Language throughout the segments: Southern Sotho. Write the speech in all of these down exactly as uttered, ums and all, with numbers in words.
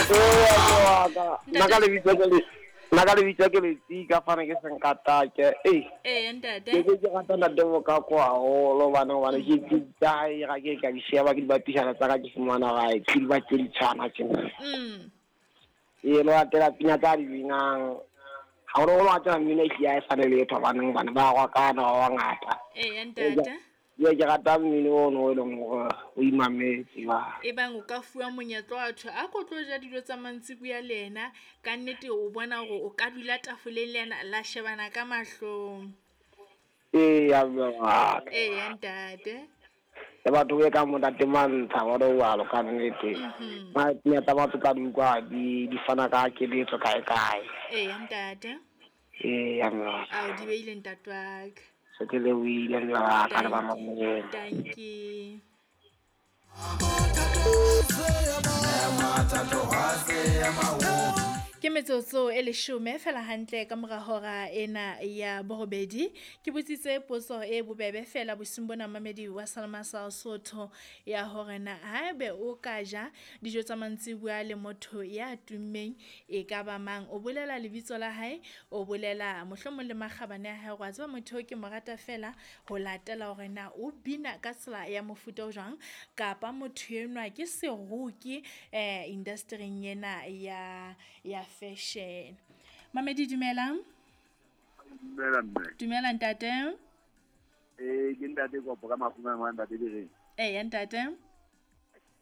Ee, nna ka lebitso ke le nna ka lebitso ke Letsika fane ke Senkatake. Ei. Ee, ntate. Ke ke rata ntate Mokako haholo hobane hobane ke ke tsa hae ga ke ka di sheba ke di bapisana tsa ka ke fumana gae ke di batle di tshwana tjena. Mm. Ee, le latela pina tsa di binang. Haholoholo wa tseba mmino e hlile ha e sane letho hobaneng hobane ba rwakana ba bangata. Ee, ntate. Ee, ke rata mmino ono e leng hore o imametse ba. E bang o ka fuwa monyetla wa thwe a ko tlo ja dijo tsa mantsibuya le yena, ka nnete o bona hore o ka dula tafoleng le yena la shebana ka mahlong. Ee, ya mme wa ka. Ee, ntate. Le batho be kang bo ntate Mantsha jwalo jwalo ka nnete. Mhm. Ba pina tsa batho tsa di utlwa di di fana ka keletso kae kae. Ee, ntate. Ee, ya mme wa ka. Ao di beile ntate wa ka. Se ke lebohile mme wa ka le ba Dankie. mamela. Dankie. Ke metsotso e leshome fela hantle ka mora hora ena ya borobedi. Ke botsitse potso e bobebe fela bosiung bona mamedi wa Salema sa Sotho ya hore na haebe o ka ja dijo tsa mantsibuya le motho ya tummeng e ka ba mang. O bolela lebitso la hae, o bolela mohlomong le makgabane a hae hore wa tseba motho eo ke mo rata fela ho latela hore na o bina ka tsela ya mofuta o jwang kapa motho enwa ke seroki eh industry-ing ena ya ya fashion. Mamedi dumelang. Dumela mme. Dumela ntate. Eh ke ntate Kopo ka Mafuma ma ntate Direng. Ee ntate.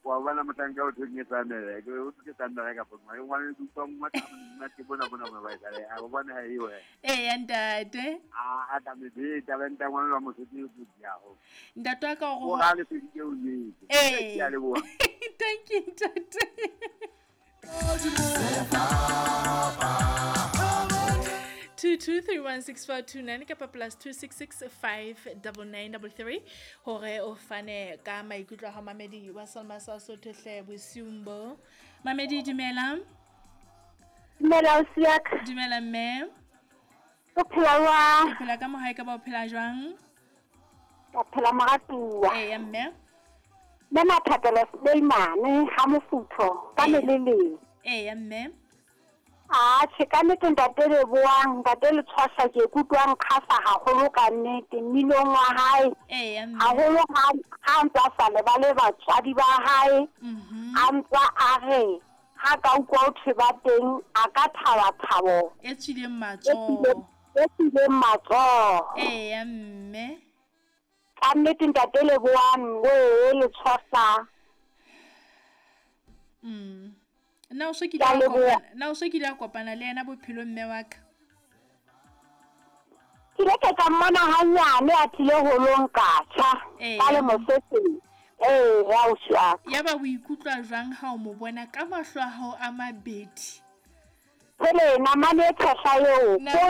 Wa bona mohlanka o thong e tsamela ke o ke tsamela ka pona. Ke ngwana ke utlwa ngwa nna ke bona bona bona ba e tsale. A bona ha e we. Ee ntate. A a ta me be talenta ngwana wa motho ke o ya ho. Ntate wa ka o O ga le feditse o nyetse. Ee. Ke a leboha. Thank you ntate. Two two three one six four two nine kapa plus two six six five double nine double three hore o fane ka maikutlo a hao mamedi wa Salma sa Sotho hle bosiung bo. Mamedi dumela. Dumela ausi ya ka. Dumela mme. O phela jwang? Ke phela ka mohae ka ba o phela jwang? O phela moratuwa. Ee mme. Mme Mathapelo Suleimane ha mofutho ka Ee. meleleng. Ee mme. Ah, tjhe ka nnete ntate Lebohang, ntate Letshwasa ke ikutlwa nkgahla haholo ka nnete mminong wa hae. Ee mme. Haholo ha ha ntse a sa lebale batswadi ba hae. Mhm. A ntse a re ha ka utlwa ho thwe ba teng a ka thaba thabo. E tswileng E matsoho. tswileng, e tswileng matsoho. Ee mme. Ka nnete ntate Lebohang we Letshwasa. Mm. Na o so kile Ke a wa leboha. kopana, na o so kile wa kopana le yena bophelong mme wa ka? Ke ile ka ka mmona hanyane a tlile holong ka tjha, Ee. ka le moseseng. Ee, ausi wa ka. Ya ba o ikutlwa jwang ha o mo bona ka mahlo a hao a mabedi? Pele namane e tshehla eo, Na- ko